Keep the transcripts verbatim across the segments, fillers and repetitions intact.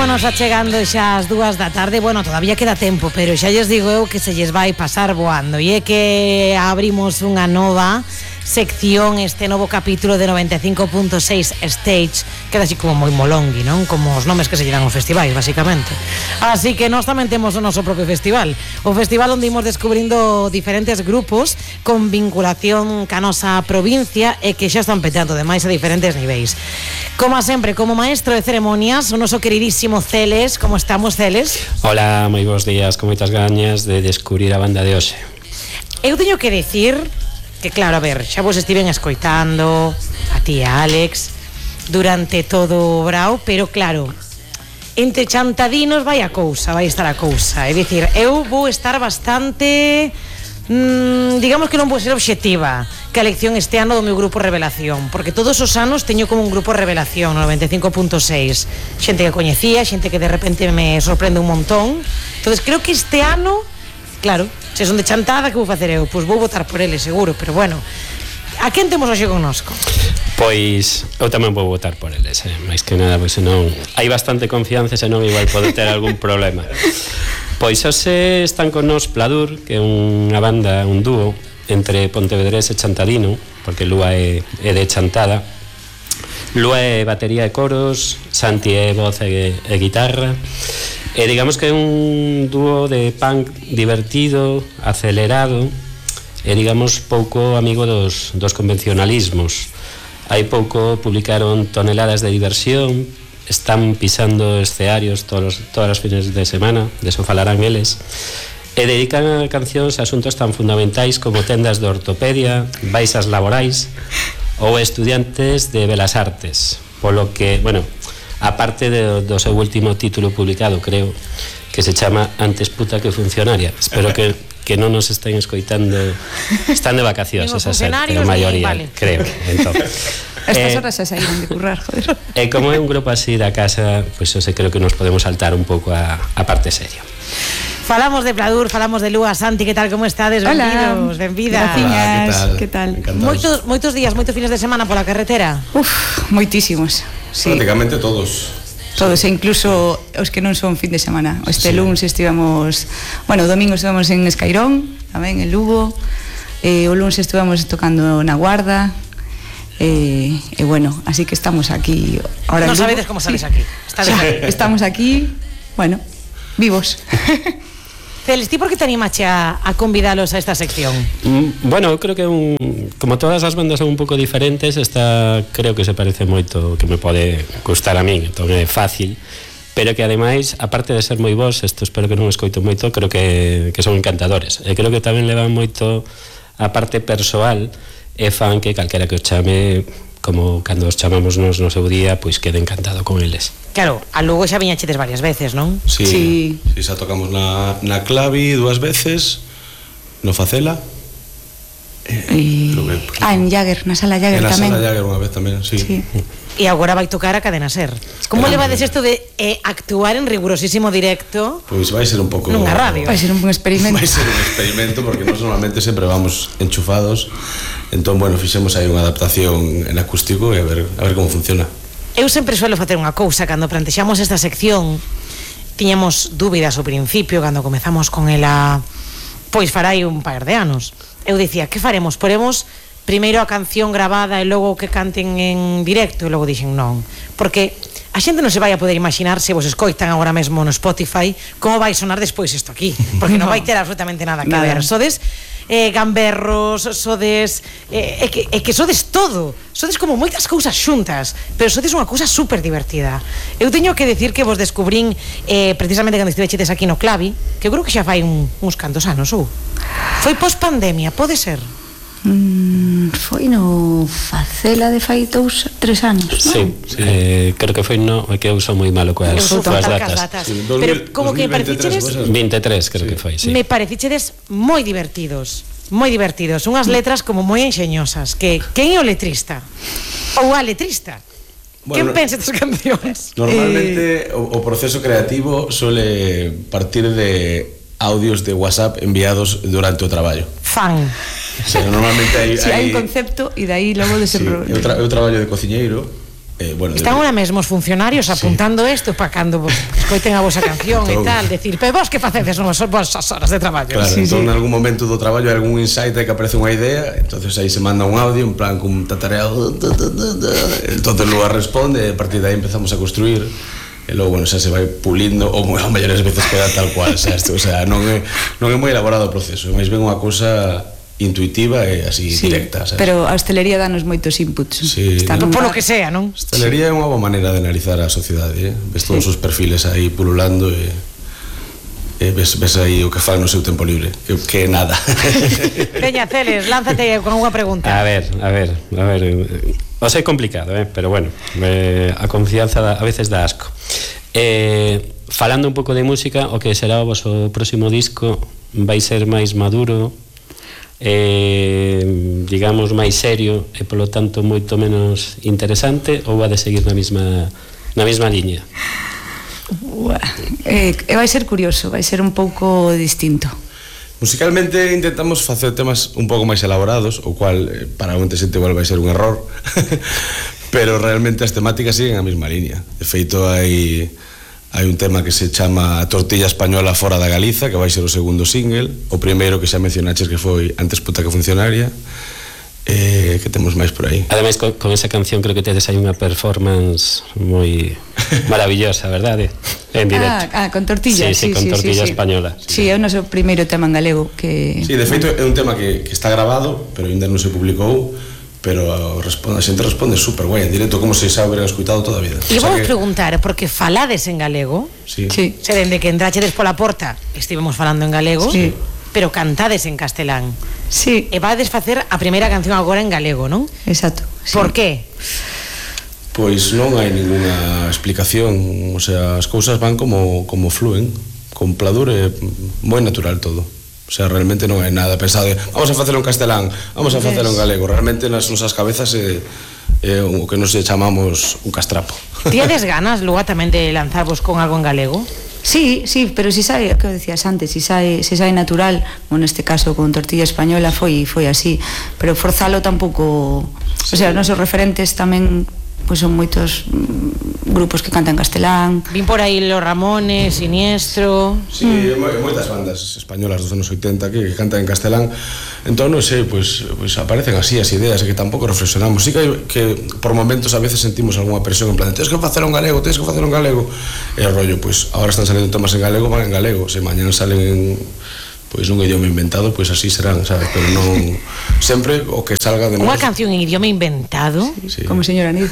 Ímonos achegando xa as dúas da tarde. Bueno, todavía queda tempo, pero xa lles digo eu que se lles vai pasar voando. E é que abrimos unha nova sección, este novo capítulo de noventa e cinco punto seis Stage. Queda así como moi molongui, non? Como os nomes que se lle dan aos festivais, basicamente. Así que nós tamén temos o noso propio festival. O festival onde imos descubrindo diferentes grupos con vinculación ca nosa provincia e que xa están petando demais a diferentes niveis. Como sempre, como maestro de ceremonias, o noso queridísimo Celes. Como estamos, Celes? Hola, moi bons días, con moitas gañas de descubrir a banda de hoxe. Eu teño que decir que, claro, a ver, xa vos estiven escoitando a ti e a Alex durante todo o brao, pero claro, entre chantadinos vai a cousa, vai estar a cousa. É dicir, eu vou estar bastante... Mm, digamos que non vou ser obxectiva que a elección este ano do meu grupo Revelación, porque todos os anos teño como un grupo Revelación no noventa e cinco punto seis, xente que coñecía, xente que de repente me sorprende un montón. Entonces creo que este ano, claro, se son de chantada, que vou facer eu? Pois vou votar por ele, seguro, pero bueno, a quen temos hoxe connosco? Pois eu tamén vou votar por eles, eh? máis que nada, pois senón hai bastante confianza, senón igual pode ter algún problema. Pois hoxe están con nos Pladur, que é unha banda, un dúo entre pontevedrés e chantadino, porque Lúa é, é de Chantada. Lúa é batería e coros, Santi é voz e, e guitarra, e digamos que é un dúo de punk divertido, acelerado, e digamos pouco amigo dos, dos convencionalismos. Hai pouco publicaron Toneladas de diversión, están pisando escenarios todos, todas as fines de semana, de eso falarán eles, e dedican a cancións a asuntos tan fundamentais como tendas de ortopedia, baixas laborais ou estudiantes de belas artes, polo que, bueno, aparte de, do seu último título publicado, creo, que se chama Antes puta que funcionaria. Espero que, que non nos estén escoitando, están de vacacións, esa xente, a maioría, vale. Creo. Entón, estas horas xa saíron de currar, joder. E como é un grupo así da casa, pois pues, eu sei, creo que nos podemos saltar un pouco a, a parte seria. Falamos de Pladur, falamos de Lúa. Santi, que tal, como estades? Benvidos, benvidas. Hola, que tal? Moitos, moitos días, moitos fines de semana pola carretera? Uf, moitísimos, sí. Prácticamente todos. Todos, e incluso os que non son fin de semana. Este sí. Luns estivemos, bueno, o domingo estivemos en Escairón, tamén en Lugo, e o luns estivemos tocando na Guarda, e, e bueno, así que estamos aquí ahora. Non sabedes como sales sí. aquí. O sea, aquí. Estamos aquí, bueno, vivos. Celes, ti por que te animache a, a convidalos a esta sección? Mm, bueno, creo que un, como todas as bandas son un pouco diferentes, esta creo que se parece moito, que me pode gustar a min, entón é fácil, pero que ademais, aparte de ser moi vos, isto espero que non escoito moito, creo que, que son encantadores, e creo que tamén levan moito a parte persoal, e fan que calquera que os chame, como cando os chamamos nos no seu día, pois quede encantado con eles. Claro, a Lugo xa viñachedes varias veces, non? Sí, sí. sí xa tocamos na, na Clavi dúas veces, no Facela. E... Eh, ah, en Jagger, na Sala Jagger tamén. En na Sala Jagger unha vez tamén, sí. sí. E agora vai tocar a Cadena Ser. Como eh, levades isto de eh, actuar en rigurosísimo directo? Pois vai ser un pouco... Nunha radio. Vai ser un experimento. Vai ser un experimento, porque nós normalmente sempre vamos enchufados. Entón, bueno, fixemos aí unha adaptación en acústico e a ver, a ver como funciona. Eu sempre suelo facer unha cousa. Cando plantexamos esta sección, tiñamos dúbidas ao principio, cando comezamos con ela, pois farai un par de anos. Eu dicía, que faremos? Poremos primeiro a canción grabada e logo que canten en directo? E logo dixen non, porque a xente non se vai a poder imaginar, se vos escoitan agora mesmo no Spotify, como vai sonar despois isto aquí, porque non vai ter absolutamente nada que ver. Sodes eh, gamberros, sodes eh, é, que, é que sodes todo, sodes como moitas cousas xuntas, pero sodes unha cousa super divertida. Eu teño que decir que vos descubrín eh, precisamente cando estivechedes aquí no Clavi, que eu creo que xa fai un, uns cantos anos, ou foi post pandemia, pode ser? Mm, foi no Facela de fai dous, tres anos, non? Sí, sí. Eh, creo que foi no, é que eu sou moi malo coas, coas datas, datas. Sí, pero como que parecichedes veintitrés, creo sí. que foi, sí. Me parecichedes moi divertidos, moi divertidos, unhas letras como moi enxeñosas, que quen é o letrista? Ou a letrista? Bueno, quen pensa estas cancións? Normalmente eh... o, o proceso creativo suele partir de audios de WhatsApp enviados durante o traballo. Fan. O sea, normalmente hai, sí, hai un concepto e dai logo desenvolver. Sí, eu, tra eu traballo de cociñeiro Eh, bueno, Están de... ahora mesmo os funcionarios apuntando isto sí. para cando escoiten a vosa canción e tal, decir, pero vos que facedes nas vosas horas de traballo? Claro, sí, entón sí. en algún momento do traballo hai algún insight que aparece unha idea, entonces aí se manda un audio en plan con un tatareado, entonces luego responde e a partir de aí empezamos a construir e logo, bueno, xa se vai pulindo ou a maiores veces queda tal cual, xa, o sea, non é, non é moi elaborado o proceso, máis ben unha cousa intuitiva e así sí, directa, sabes? Pero a hostelería danos moitos inputs. Sí, Está Por, nun por lo bar. que sea, non? Hostelería é unha boa maneira de analizar a sociedade, eh? Ves todos sí. os perfiles aí pululando e, e ves, ves aí o que fan no seu tempo libre, que, que é nada. Veña, Celes, lánzate con unha pregunta. A ver, a ver, a ver, o sei complicado, eh? Pero bueno, eh, a confianza da, a veces dá asco. Eh, falando un pouco de música, o que será o voso próximo disco vai ser máis maduro, eh, digamos máis serio e polo tanto moito menos interesante, ou va de seguir na mesma na mesma liña? Uah, eh, vai ser curioso, vai ser un pouco distinto. Musicalmente intentamos facer temas un pouco máis elaborados, o cual eh, para onte xente igual vai ser un error, pero realmente as temáticas siguen a mesma liña. De feito hai hai un tema que se chama Tortilla Española fora da Galiza, que vai ser o segundo single, o primeiro que xa mencionaches que foi Antes puta que funcionaria. Eh, que temos máis por aí? Ademais, con, con esa canción creo que tedes aí unha performance moi maravillosa, verdade? En directo. Ah, ah con tortilla, sí, sí, sí, con sí, tortilla sí, española. Sí, sí, é o noso primeiro tema en galego que... Sí, de feito é un tema que, que está grabado, pero ainda non se publicou, pero responde, a xente responde super guai en directo, como se xa hubieran escuitado toda a vida. E o sea vou que... preguntar, porque falades en galego? Sí. Sí. Se dende que entrachedes pola porta estivemos falando en galego, Sí. pero cantades en castelán. Sí. E vades facer a primeira canción agora en galego, non? Exacto. Sí. Por qué? Pois non hai ninguna explicación, o sea, as cousas van como, como fluen, con pladur é moi natural todo. O sea, realmente non hai nada pensado de vamos a facelo en castelán, vamos a facelo en galego. Realmente nas nosas cabezas é, é o que nos chamamos un castrapo. Tiades ganas, logo tamén de lanzarvos con algo en galego? Sí, sí, pero si sae, o que decías antes, si sae, se sae natural, ou neste caso con Tortilla Española foi foi así, pero forzalo tampouco, sí. O sea, os nosos referentes tamén pois son moitos mm, grupos que cantan castelán. Vin por aí Los Ramones, Siniestro. Sí, mm. moitas bandas españolas dos anos oitenta que, que cantan en castelán. Entón, non sei, pois, pois aparecen así as ideas que tampouco reflexionamos. Sí que, que por momentos a veces sentimos algunha presión en plan, tens que facelo en galego, tens que facelo en galego. E o rollo, pois agora están salindo temas en galego, van en galego. Se mañana salen en pois un idioma inventado, pois así serán, sabes, pero non sempre o que salga de nós. Unha canción en idioma inventado, sí. Como señora Nid.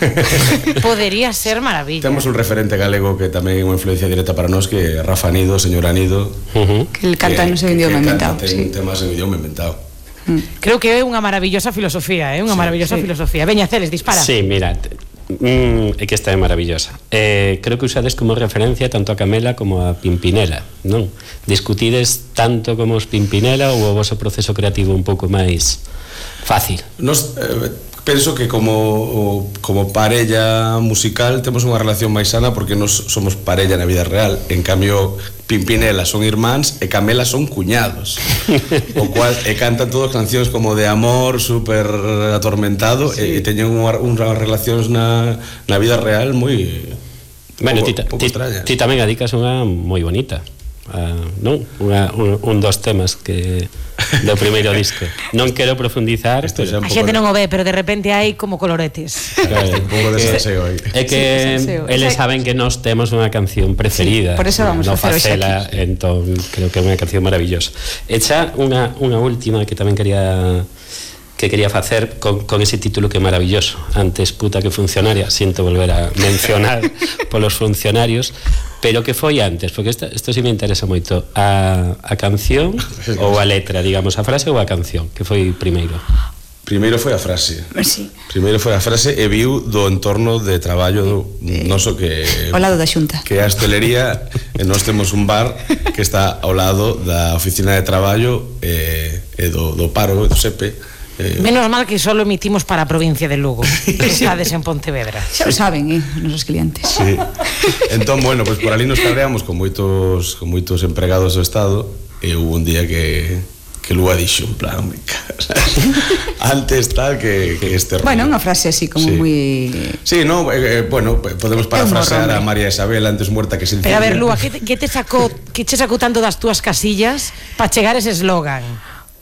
Podería ser maravilla. Temos un referente galego que tamén é unha influencia directa para nós, que é Rafa Nido, señora Nido, Uh-huh. Que el canta no seu idioma inventado. Ten Sí. temas en idioma inventado. Creo que é unha maravillosa filosofía, é unha Sí, maravillosa sí. filosofía. Veña, Celes, dispara. Sí, mira, mm, é que esta é maravillosa. Eh, creo que usades como referencia tanto a Camela como a Pimpinela, non? Discutides tanto como os Pimpinela ou o voso proceso creativo un pouco máis fácil? Nos eh, penso que como como parella musical temos unha relación máis sana porque nos somos parella na vida real. En cambio, Pimpinela son irmáns e Camela son cuñados. O cual e cantan todas cancións como de amor, super atormentado, sí. E, e teñen unha, unhas relacións na, na vida real moi Bueno, pouco, ti, pouco ti, extrañas. ti tamén adicas unha moi bonita. Uh, non? Unha, un, un dos temas que do primeiro disco. Non quero profundizar, Isto xa pero A xente non o ve, pero de repente hai como coloretes. claro, un pouco de salseo aí. é que Sí, salseo. eles saben que nós temos unha canción preferida. Sí, por eso vamos no a facer hoxe facela, entón creo que é unha canción maravillosa. E xa unha unha última que tamén quería que quería facer con, con ese título que é maravilloso, Antes puta que funcionaria. Siento volver a mencionar polos funcionarios, pero que foi antes, porque isto, isto sí me interesa moito, a, a canción ou a letra, digamos, a frase ou a canción, que foi primeiro? Primeiro foi a frase. Sí. Primeiro foi a frase e viu do entorno de traballo do noso que Ao lado da Xunta. que é a hostelería, e nós temos un bar que está ao lado da oficina de traballo e, e do, do paro, do S E P E. Eh, Menos mal que solo emitimos para a provincia de Lugo. Estades en Pontevedra. Xa o saben, eh, os nosos clientes. sí. Entón, bueno, pois pues por ali nos cabreamos con moitos con moitos empregados do Estado e hubo un día que que Lúa dixo, en plan, me cagas. Antes tal que, que este rollo. Bueno, unha frase así como sí. moi... Sí, no, eh, eh, bueno, podemos parafrasear a María Isabel antes muerta que sencilla. Pero a ver, Lúa, que te, que te sacou, que che sacou tanto das túas casillas para chegar ese eslogan?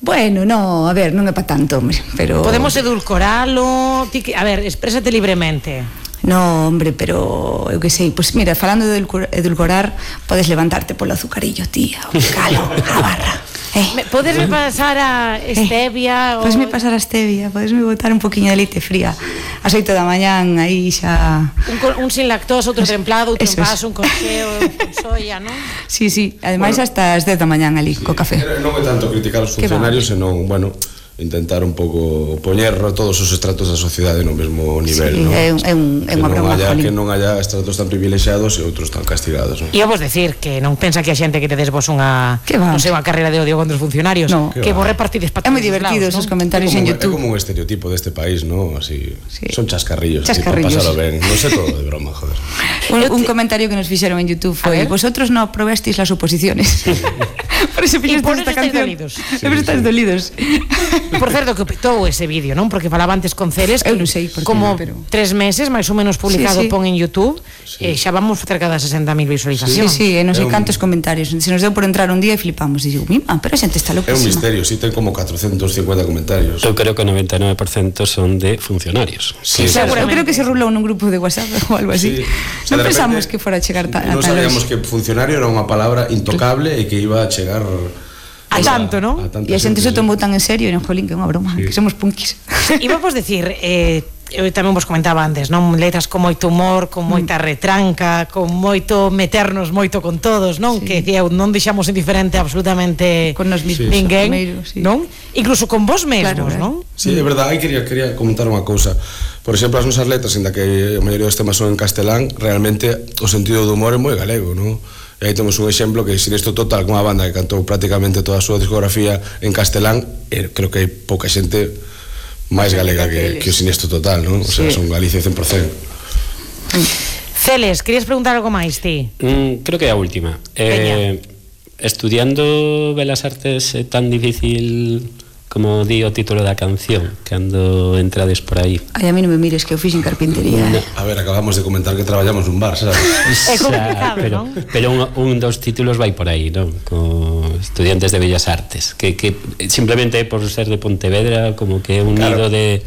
Bueno, no, a ver, non é pa tanto, hombre, pero... Podemos edulcoralo, ti que, a ver, exprésate libremente. No, hombre, pero eu que sei, pois pues mira, falando de edulcorar, podes levantarte polo azucarillo, tía, o calo, a barra. Eh. Me, podes me pasar a stevia? Eh. Podes me pasar a stevia, podes me botar un poquinho de leite fría ás oito da mañán, aí xa... Un, un sin lactosa, outro templado, outro en vaso, un con xeo, un con soia, non? Sí, sí, ademais bueno, hasta as dez da mañán ali, sí, co café. Non é tanto criticar os funcionarios, senón, bueno, intentar un pouco poñer todos os estratos da sociedade no mesmo nivel, sí, non? É, un, é, un, é unha broma, haya, que non haya estratos tan privilexiados e outros tan castigados, non? E vos decir que non pensa que a xente que tedes vos unha, non sei, unha carreira de odio contra os funcionarios, no. que vos repartides para todos. É moi divertido esos ¿no? comentarios como, en YouTube. É como un estereotipo deste país, non? Así, sí. Son chascarrillos, chascarrillos. Así, para pasalo ben. Non sei todo de broma, joder. Un, un comentario que nos fixeron en YouTube foi: vosotros no aprobasteis las oposiciones. Por eso fixestes esta canción. Dolidos. Sí, por eso estáis sí. dolidos. Por certo, que petou ese vídeo, non? Porque falaba antes con Ceres que eu non sei por como pero... tres meses máis ou menos publicado sí, sí. pon en YouTube sí. e xa vamos cerca das sesenta mil visualizacións. Sí, sí, e non sei cantos comentarios. Se nos deu por entrar un día e flipamos e digo, mima, pero a xente está loquísima. É un misterio, si sí, ten como cuatrocientos cincuenta comentarios. Eu creo que o noventa e nove por cento son de funcionarios. Sí, sí, eu creo que se rulou nun grupo de WhatsApp ou algo así. Sí. O sea, non pensamos que fora a chegar ta, a non sabíamos que funcionario era unha palabra intocable e que iba a chegar a tanto, non? E a xente se tomou tan en serio, e non, jolín, que é unha broma, sí. que somos punkis. Iba vos decir, eh, eu tamén vos comentaba antes, non? Letras con moito humor, con moita retranca, con moito meternos moito con todos, non? Sí. Que decía, non deixamos indiferente absolutamente con nos mismos, ninguén, sí. non? Incluso con vos mesmos, claro, non? Sí, é verdade, aí quería, quería comentar unha cousa. Por exemplo, as nosas letras, inda que a maioría dos temas son en castelán, realmente o sentido do humor é moi galego, non? E aí temos un exemplo que Siniestro Total, unha banda que cantou prácticamente toda a súa discografía en castelán, e creo que hai pouca xente máis galega que, que o Siniestro Total, non? O sea, sí. son Galicia cen por cento. Celes, querías preguntar algo máis, ti? Mm, creo que é a última. Eh, estudiando Belas Artes é tan difícil como di o título da canción cando entrades por aí. Ai, a mí non me mires que eu fixen carpintería. No. A ver, acabamos de comentar que traballamos nun bar, sabes? É complicado, pero, non? Pero un, un dos títulos vai por aí, non? Co estudiantes de Bellas Artes, que, que simplemente por ser de Pontevedra como que é un claro. nido de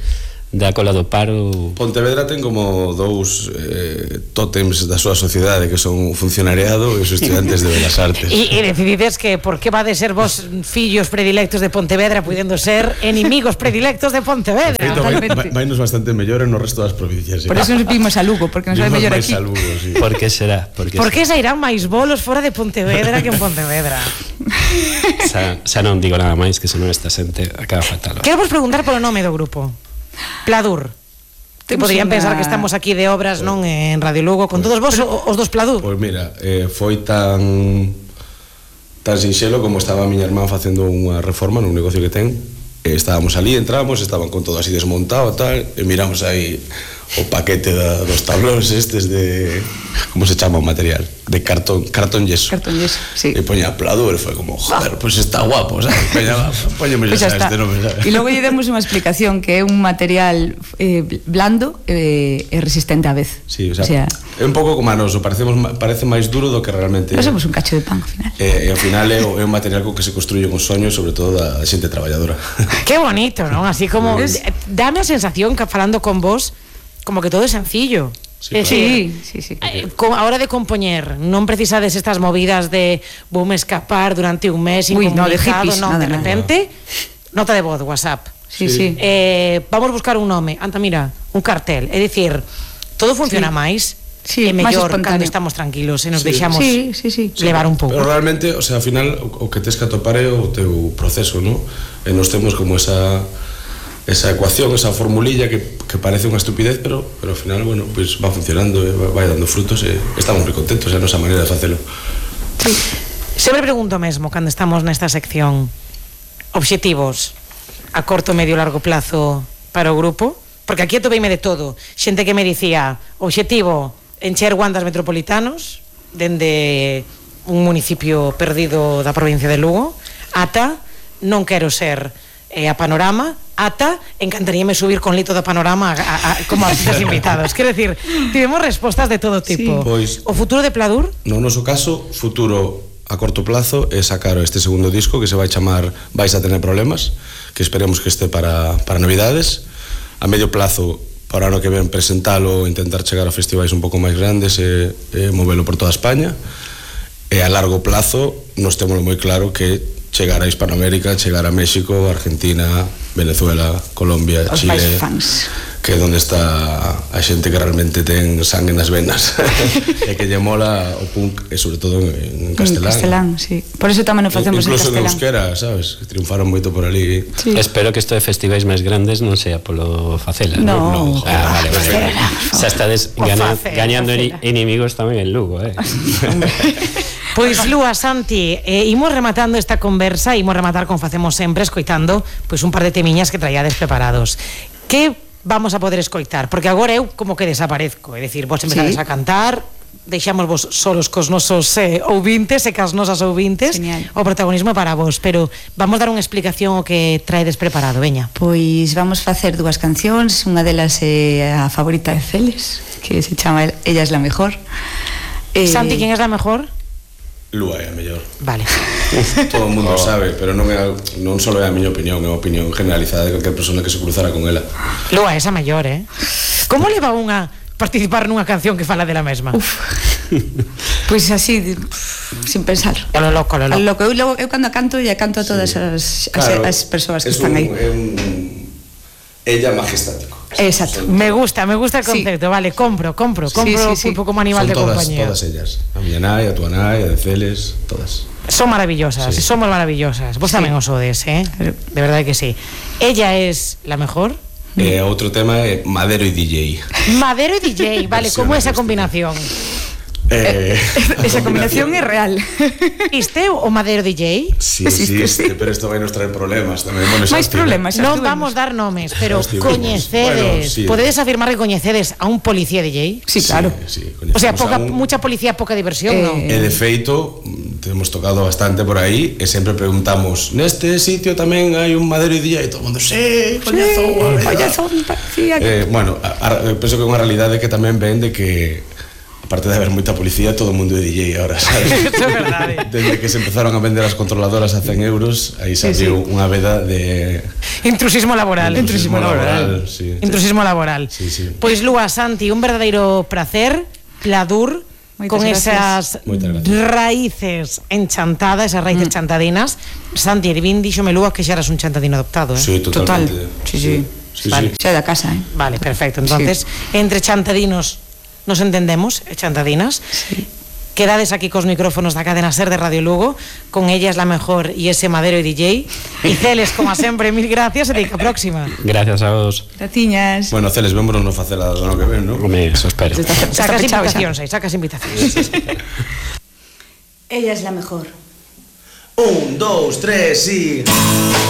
da cola do paro. Pontevedra ten como dous eh, tótems da súa sociedade, que son o funcionariado e os estudantes de Belas Artes. E, e decidides que por que vade ser vos fillos predilectos de Pontevedra puidendo ser enemigos predilectos de Pontevedra. Feito, vai, vai nos bastante mellor no resto das provincias. Por eso nos vimos a Lugo, porque nos vai mellor aquí. Lugo, sí. Por que será? Por que Por que sairán máis bolos fora de Pontevedra que en Pontevedra? Xa, xa non digo nada máis, que senón esta xente acaba fatal. Quero vos preguntar polo nome do grupo. Pladur. Que poderían una... pensar que estamos aquí de obras, pues, non, en Radio Lugo con pues, todos vos, pero, os dos Pladur. Pois pues mira, eh, foi tan tan sinxelo como estaba a miña irmán facendo unha reforma nun negocio que ten. E estábamos ali, entramos, estaban con todo así desmontado tal, e miramos aí o paquete da, dos tablóns estes de... como se chama o material? De cartón, cartón yeso. Cartón yeso, sí. E poña Pladur, e foi como, joder, pois pues está guapo, sabes? Poña, poñeme pues xa este nome, sabes? E logo lle demos unha explicación que é un material eh, blando e eh, resistente á vez. Sí, o sea, o sea, é un pouco como a noso, parecemos, parece máis duro do que realmente... Nós somos un cacho de pan, ao final. E, e ao final é, é un material co que se construyen os soños, sobre todo da xente traballadora. Qué bonito, non? Así como... Es... Dame a sensación que falando con vos, como que todo é sencillo. Sí, claro. sí, sí, sí. A hora de compoñer, non precisades estas movidas de vou me escapar durante un mes Uy, incomunicado, no, de hippies, non, nada, de repente, nada. nota de voz, WhatsApp. Sí, sí. Eh, vamos buscar un nome, anta, mira, un cartel, é dicir, todo funciona sí. máis, sí, é mellor cando estamos tranquilos e nos sí. deixamos sí, sí, sí. levar un pouco. Pero realmente, o sea, ao final o, o que tes que atopar é o teu proceso, ¿no? E nos temos como esa esa ecuación, esa formulilla que, que parece unha estupidez, pero, pero ao final, bueno, pues va funcionando, vai dando frutos e estamos moi contentos, é a nosa maneira de facelo. Sí. Sempre pregunto mesmo, cando estamos nesta sección, obxectivos a corto, medio, largo plazo para o grupo, porque aquí atopeime de todo, xente que me dicía, obxectivo, encher guandas metropolitanos, dende un municipio perdido da provincia de Lugo, ata non quero ser eh, a Panorama, ata encantaríame subir con Lito da Panorama a, a, a, como artistas invitados. Quero decir, tivemos respostas de todo tipo. Sí. Pois, o futuro de Pladur? No noso caso, futuro a corto plazo é sacar este segundo disco que se vai chamar Vais a tener problemas, que esperemos que este para, para Navidades. A medio plazo, para o ano que ven, presentalo, intentar chegar a festivais un pouco máis grandes e, e movelo por toda España. E a largo plazo nos temos moi claro que chegar a Hispanoamérica, chegar a México, Argentina, Venezuela, Colombia, Os Chile, máis fans, que é onde está a xente que realmente ten sangue nas venas e que lle mola o punk, e sobre todo en, en castelán. En castelán, sí. Por eso tamén o facemos en incluso castelán. Incluso en euskera, sabes? Que triunfaron moito por ali. Sí. Espero que isto de festivais máis grandes non sea polo Facela. No, no. Ah, vale, vale, vale. Xa estades O gana, Facela, gañando Facela. inimigos tamén en Lugo, eh. Pois Lúa, Santi, eh, imos rematando esta conversa, imos rematar como facemos sempre, escoitando pois un par de temiñas que traíades preparados. Que vamos a poder escoitar? Porque agora eu como que desaparezco, é dicir, vos empezades Sí. a cantar, deixamos vos solos cos nosos eh, ouvintes e cas nosas ouvintes. Genial. O protagonismo é para vos, pero vamos dar unha explicación o que traedes preparado, veña. Pois vamos facer dúas cancións, unha delas é a favorita de Celes, que se chama Ella es la mejor. Eh, Santi, quen é a mejor? Lúa é a mellor. Vale. Todo o mundo sabe, pero non é non só é a miña opinión, é a opinión generalizada de calquer persona que se cruzara con ela. Lúa, esa maior, eh? Como leva unha participar nunha canción que fala dela mesma? Uf. Pois así, de- sin pensar. A lo loco, a lo A loco. lo que eu, logo- eu cando canto, ya canto a todas as, as, as persoas que es están un, aí. É un ella majestático. Exacto. Me gusta, me gusta el Sí. concepto, vale, compro, compro, Sí, compro sí, sí. Pulpo como animal Son de todas, compañía. todas ellas. A miña nai, a tua nai, a de Celes, todas. Son maravillosas, Sí. somos maravillosas. Vos Sí. tamén os odes, eh? De verdad que sí. Ella es la mejor. E outro tema é Madero e D J. Madero y D J, vale, Versión ¿cómo es esa acústica. combinación? Eh, Esa combinación é real. ¿Existe o Madero D J? Sí, Existe, existe, sí. pero isto vai nos traer problemas tamén. Bueno, xa Máis estive. problemas. xa Non estuvemos. vamos dar nomes, pero Xa estivemos. coñecedes, Bueno, sí. podedes afirmar que coñecedes a un policía D J? Sí, claro. Sí, sí, O sea, coñecemos poca, a un- mucha policía, poca diversión, Eh, ¿no? E de feito, mm, hemos tocado bastante por aí e sempre preguntamos, neste sitio tamén hai un Madero e D J, e todo o mundo, sí, coñezo. Coñezo, parecía que... Eh, bueno, a, a, penso que é unha realidade que tamén ven de que aparte de haber moita policía, todo o mundo é D J ahora, sabes? Eso é verdade. Desde que se empezaron a vender as controladoras a cen euros, aí se Sí, abriu sí. unha veda de Intrusismo laboral. Intrusismo laboral, sí. Intrusismo laboral. Sí, sí. Pois Lúa, Santi, un verdadeiro placer, Pladur, Moitas con gracias. esas Moitas gracias. raíces enchantadas, esas raíces mm. chantadinas. Santi, Edvín díxome Lúa que xa eras un chantadino adoptado, eh? Sí, Total. totalmente. Sí, sí. Sí, Vale. sí. Xa é da casa, eh? Vale, perfecto. Entonces, sí. Entre chantadinos nos entendemos, eh, chantadinas. Sí. Quedades aquí cos micrófonos da cadena SER de Radio Lugo, con Ella es la mejor y ese Madero y D J. Y Celes, como sempre, mil gracias e dica próxima. Gracias a vos. Gratiñas. Bueno, Celes, vémonos no faceladas do ano que ven, non? Home, eso espero. Está- está Sacas pechado xa. invitacións, aí, sacas invitacións. Ella es la mejor. Un, dos, tres y...